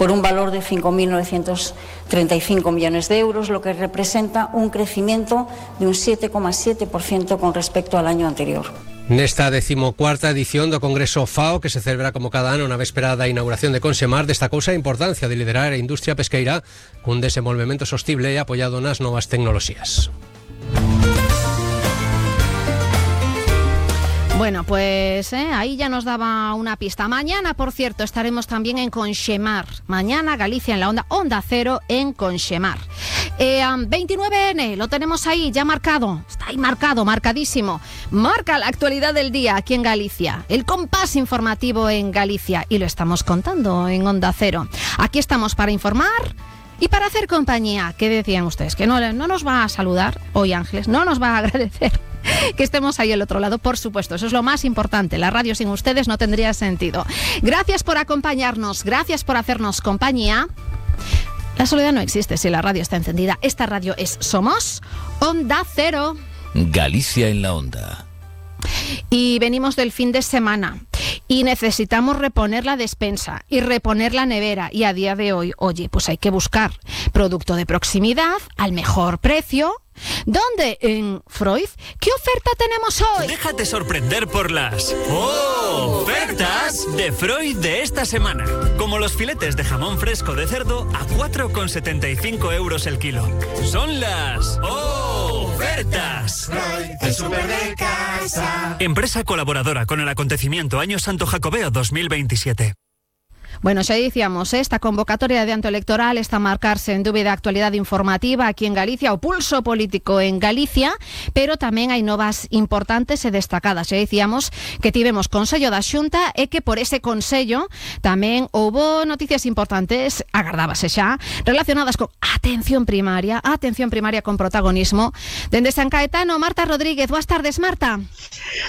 por un valor de 5.935 millones de euros, lo que representa un crecimiento de un 7,7% con respecto al año anterior. Nesta 14ª edición do Congreso FAO, que se celebra como cada ano na véspera da inauguración de Consemar, destacouse a importancia de liderar a industria pesqueira cun desenvolvemento sostible e apoiado nas novas tecnoloxías. Bueno, pues ahí ya nos daba una pista. Mañana, por cierto, estaremos también en Consemar. Mañana Galicia en la Onda Cero en Consemar. 29N, lo tenemos ahí ya marcado. Está ahí marcado, marcadísimo. Marca la actualidad del día aquí en Galicia. El compás informativo en Galicia. Y lo estamos contando en Onda Cero. Aquí estamos para informar y para hacer compañía. ¿Qué decían ustedes? Que no nos va a saludar hoy Ángeles, no nos va a agradecer que estemos ahí al otro lado, por supuesto, eso es lo más importante. La radio sin ustedes no tendría sentido. Gracias por acompañarnos, gracias por hacernos compañía. La soledad no existe si la radio está encendida. Esta radio es Somos Onda Cero. Galicia en la Onda. Y venimos del fin de semana y necesitamos reponer la despensa y reponer la nevera, y a día de hoy, oye, pues hay que buscar producto de proximidad al mejor precio. ¿Dónde? En Freud. ¿Qué oferta tenemos hoy? Déjate sorprender por las ofertas de Freud de esta semana. Como los filetes de jamón fresco de cerdo a 4,75 euros el kilo. Son las ofertas. Freud, el súper de casa. Empresa colaboradora con el acontecimiento Año Santo Jacobeo 2027. Bueno, xa dicíamos, esta convocatoria de anto electoral está a marcarse en dúbida actualidade informativa aquí en Galicia, o pulso político en Galicia, pero tamén hai novas importantes e destacadas. Xa dicíamos que tivemos Consello da Xunta e que por ese Consello tamén houbo noticias importantes, agardábase xa, relacionadas con atención primaria con protagonismo. Dende San Caetano, Marta Rodríguez. Boas tardes, Marta.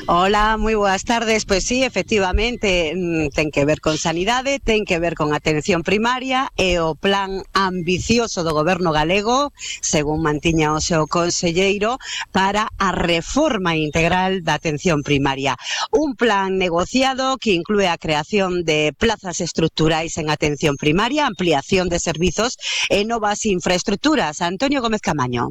Hola, moi boas tardes. Pois sí, efectivamente, ten que ver con sanidade, ten que ver con atención primaria e o plan ambicioso do goberno galego, según mantiña o seu conselleiro, para a reforma integral da atención primaria. Un plan negociado que inclúe a creación de plazas estructurais en atención primaria, ampliación de servizos e novas infraestructuras. Antonio Gómez Camaño.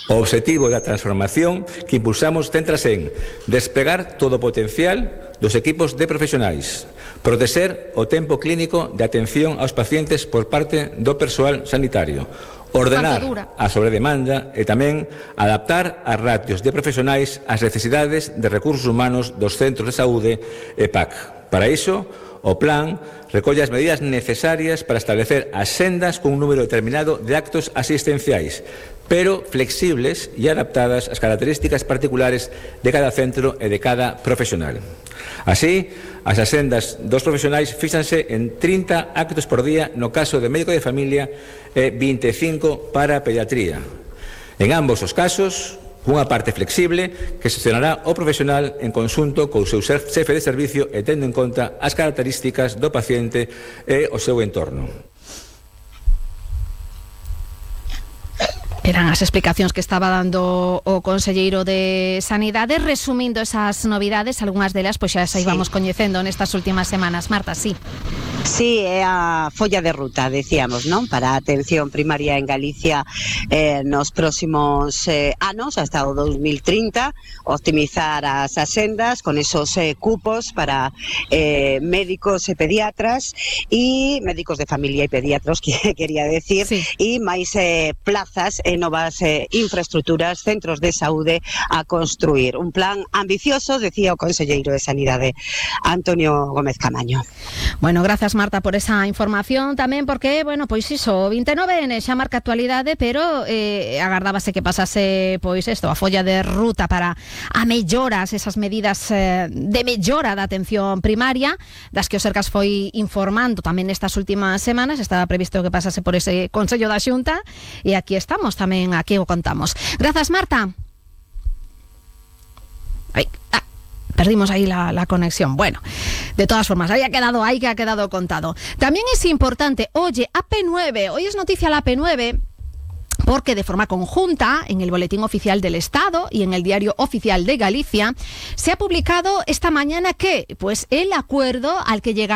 O obxectivo da transformación que impulsamos céntrase en despegar todo o potencial dos equipos de profesionais, protexer o tempo clínico de atención aos pacientes por parte do persoal sanitario, ordenar a sobredemanda e tamén adaptar as ratios de profesionais ás necesidades de recursos humanos dos centros de saúde e PAC. Para iso, o plan recolle as medidas necesarias para establecer as sendas cun número determinado de actos asistenciais, pero flexibles e adaptadas ás características particulares de cada centro e de cada profesional. Así, as asendas dos profesionais fíxanse en 30 actos por día no caso de médico de familia e 25 para pediatría. En ambos os casos, unha parte flexible que xestionará o profesional en conxunto co seu xefe de servicio e tendo en conta as características do paciente e o seu entorno. Eran as explicacións que estaba dando o conselleiro de Sanidade, resumindo esas novidades, algunhas delas pois xa as íbamos coñecendo nestas últimas semanas. Marta, sí. Sí, é a folla de ruta, decíamos, non? Para a atención primaria en Galicia nos próximos anos, hasta o 2030, optimizar as asendas con esos cupos para médicos e pediatras e médicos de familia e pediatros, que quería decir, sí. E máis plazas e novas infraestructuras, centros de saúde a construir. Un plan ambicioso, decía o conselleiro de Sanidade, Antonio Gómez Camaño. Bueno, gracias Marta por esa información tamén, porque, bueno, pois iso, 29N xa marca actualidade, pero agardábase que pasase, pois isto, a folla de ruta para a melloras, esas medidas de mellora da atención primaria, das que o Sergas foi informando tamén nestas últimas semanas. Estaba previsto que pasase por ese Consello da Xunta e aquí estamos, tamén aquí o contamos. Grazas, Marta. Perdimos ahí la conexión. Bueno, de todas formas, ahí ha quedado contado. También es importante, oye, AP9, hoy es noticia la AP9, porque de forma conjunta, en el Boletín Oficial del Estado y en el Diario Oficial de Galicia, se ha publicado esta mañana que, pues, el acuerdo al que llega